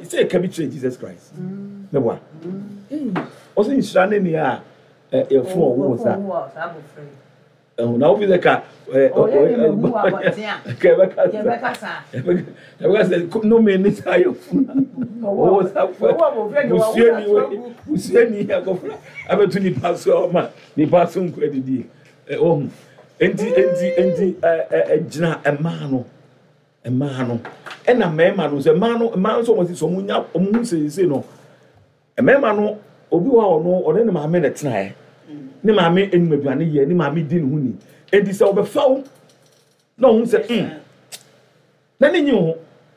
Sɛ ɛka bi kyerɛ Jesus Christ. Mɛboa. Ɔsɛ nhyira ne nea a yɛfo ɔwo sa. Ɛho na wofi sɛ ka ka ɛbɛka sa ɛbɛka sɛ nnome ne saa yɛfo ɔwo sa fo busuani busuani akɔfra abɛto nipa so ɔma nipa so nkɔ adidie ɔhu enti enti enti ɛgyina mmaa no. Mmaa no ɛna mmarima no sɛ mmaa no mmaa nso wɔn si so wɔn nya wɔn ho siesie no mmarima no obi wɔ hɔ a ɔno ɔne ne maame na ɛtenaeɛ ne maame anim aduane yɛ ne maame di ne ho ni enti sɛ ɔbɛfa wo na ɔho sɛ na ne nyi ho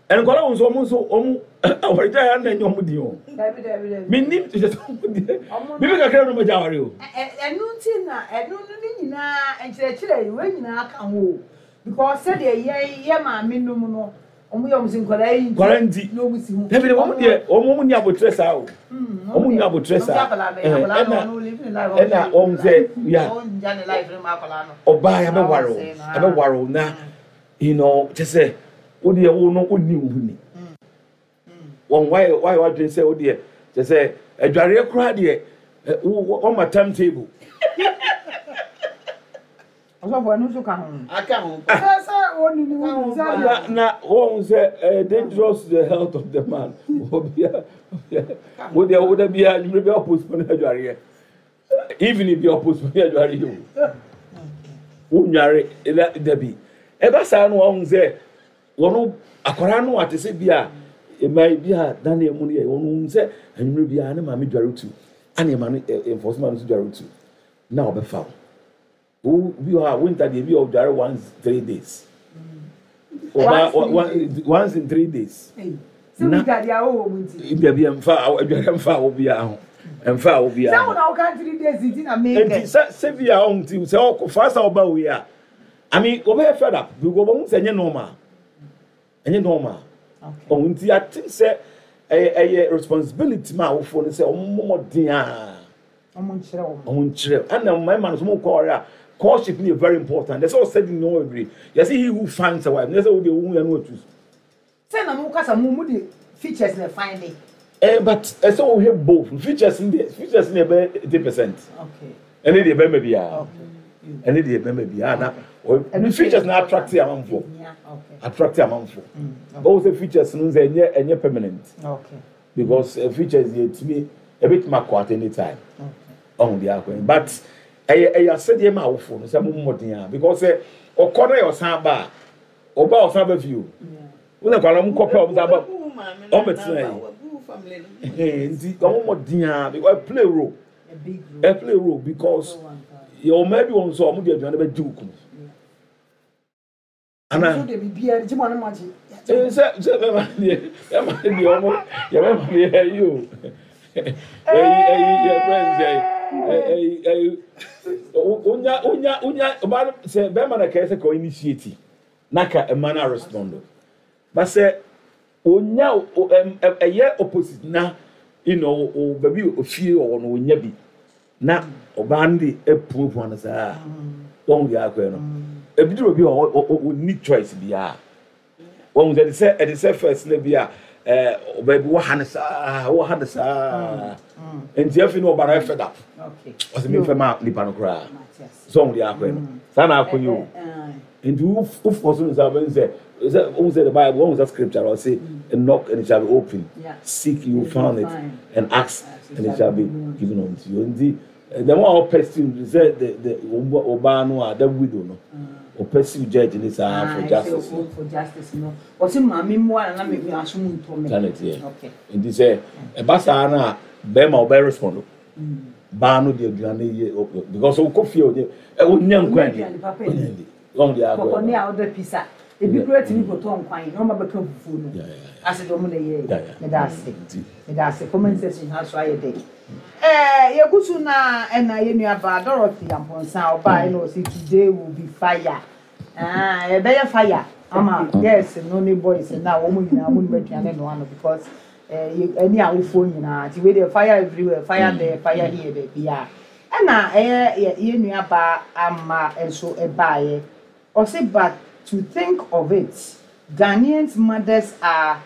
nkwadaa wɔn nso wɔn nso wɔn awaregya yɛ na ɛnyɛ wɔn di o menim sɛ wɔn deɛ bibi kakra na wɔn agya aware o. Ɛno nti na ɛno no ne nyinaa nkyerɛkyerɛ yi wɔn nyinaa ka ho o. Because sɛdeɛ yɛn yɛ maame nom no, wɔn yɛ wɔn sɛ nkwadaa yi nti. Nkwadaa nti. Na wɔn si ho. Dabi wɔn deɛ wɔn ni abotire saa o. Wɔn ni abotire saa. Ɛna ɛna wɔn sɛ ya ɔbaa yɛ bɛware o ɛbɛware o na kyɛ sɛ wo deɛ wo no wo ni wo ho ni. Wɔn wayɛ wadwene sɛ wo deɛ kyɛ sɛ adwareɛ koraa deɛ wɔn ma time table. Ɔsɔfo ɛno nso ka ho. Aka ho. Sɛ wɔn ni wɔn sɛ. Na wɔn sɛ ɛyɛ dangerous to the health of the man. Obia wo deɛ wo da bia nwumire bi apostpone adwareɛ. Evening bi apostpone adwareɛ o. Wo nware ɛda dabi. Ɛba saa no wɔn sɛ wɔn akwaraa no ate sɛ bi a mmaa bi a dan mu no yɛ wɔn sɛ nwumire bi a ne maame dware tu. Ana ɛma no enforcement no so dware tu. Na ɔbɛfa wo. Wo bi wɔ hɔ a winter deɛ bi a ɔdware once 3 days. Ɔba once in 3 days. Sɛ winter deɛ awɔ wɔ mu nti. Dabi ɛmfa adware mfa awo biara ho ɛmfa awo biara ho. Sɛ wɔn na wɔka 3 days nti na mee kɛ. Nti sɛ bi a ɔho ti sɛ ɔkɔ fa sa ɔba wei a, I mean, wɔbɛyɛ fed up because wɔn sɛ ɛnyɛ normal, ɛnyɛ normal. Ɔho nti I think sɛ ɛyɛ responsibility ma awofoɔ no sɛ wɔn mmɔden a. Ɔmo nkyerɛ wɔn. Ɔmo nkyerɛ ɛna mmarima no so mo kɔ ɔrɛ a, courtship no yɛ very important. Ɛsɛ ɔsɛ di nneɛma bebree. Yɛsɛ he who finds a wife, nyɛ sɛ wo deɛ wohu yɛ no atu. Sɛ na mo kasa mo de features na find it. But ɛsɛ wohwɛ both features no deɛ, features no yɛ bɛyɛ 80%. Ɛne deɛ bɛrima biara. Ɛne deɛ bɛrima biara na ɔ features na attract amanfoɔ. Attract amanfoɔ. Bɔwɔ sɛ features no sɛ ɛnyɛ permanent. Because features yɛ tumi ebitumi akɔ at any time. Ɔho deɛ akɔ yi but ɛyɛ asɛdeɛ ma awofoɔ no sɛ mo mmɔden a because sɛ ɔkɔ na yɛ ɔsan ba a ɔba ɔsan ba fie o. Wɔn na kwala ɔmo kɔ pɛ ɔmo san ba ɔmo bɛ tena yi nti ɔmo mmɔden a because ɛ play role, ɛ play role because yɛ ɔmaa bi wɔn nso ɔmo de aduane bɛ gye okunu. Ana sɛ bɛma deɛ ɔmo yɛ bɛma deɛ ɛyi o ɛyi ɛyi yɛ fɛn sɛ ɛyi ɛyi onya ɔbaa no sɛ bɛrima na kɛyɛ sɛ kɔ initiate na ka ɛma na respond ba sɛ onya ɛyɛ opposite na o baabi ofie ɔwɔ no onya bi na ɔbaa no de epuapua no saa wɔn deɛ akɔɛ no ebi duro bi a ɔni choice biara wɔn sɛ ɛde sɛ first na bi a ɔbaa bi wɔ ha ne saa wɔ ha ne saa nti efi no ɔbaa no fed up ɔsɛ mi nfɛ ma nipa no koraa sɛ wɔn deɛ akɔɛ no saa na akɔ yi o nti wofɔ so nsa bɛn sɛ wɔn sɛ the Bible wɔn sɛ scripture ɔsɛ, "Knock and it shall be open, seek, you will find it, and ask and it shall be given unto you." Nti the one a ɔpursue sɛ the ɔbaa no a, the widow no, ɔpursue judge ne saa for justice no. For justice no, ɔsi maame mu a na mi aso mu ntɔ mi. Sanni tiɛ nti sɛ ɛba saa na bɛrima ɔbɛ respond baa no de aduane yɛ because ɔkɔ fie ɔnyɛ ɔnyɛ nkwan di ɔnyɛ di wɔn de akɔ. Kɔkɔ ne a ɔdɔ pizza ebi kura tumi kɔtɔ nkwan na ɔma bɛka fufuo no ase de ɔmo na yɛ. Meda ase, meda ase. Comment section ha so ayɛ dɛ. Yɛgu so na ɛna yɛ nua baa Dorothy Amponsa ɔbaa ɛna ɔsi today will be fire. Ɛbɛyɛ fire ama girls no ne boys na wɔn nyinaa wɔn nim aduane noa no because ɛne awofoɔ nyinaa nti wei deɛ fire everywhere, fire there, fire here, baabi a ɛna ɛyɛ yɛ nua baa Ama nso ɛbaayɛ ɔsi, "But to think of it, Ghanaians mothers are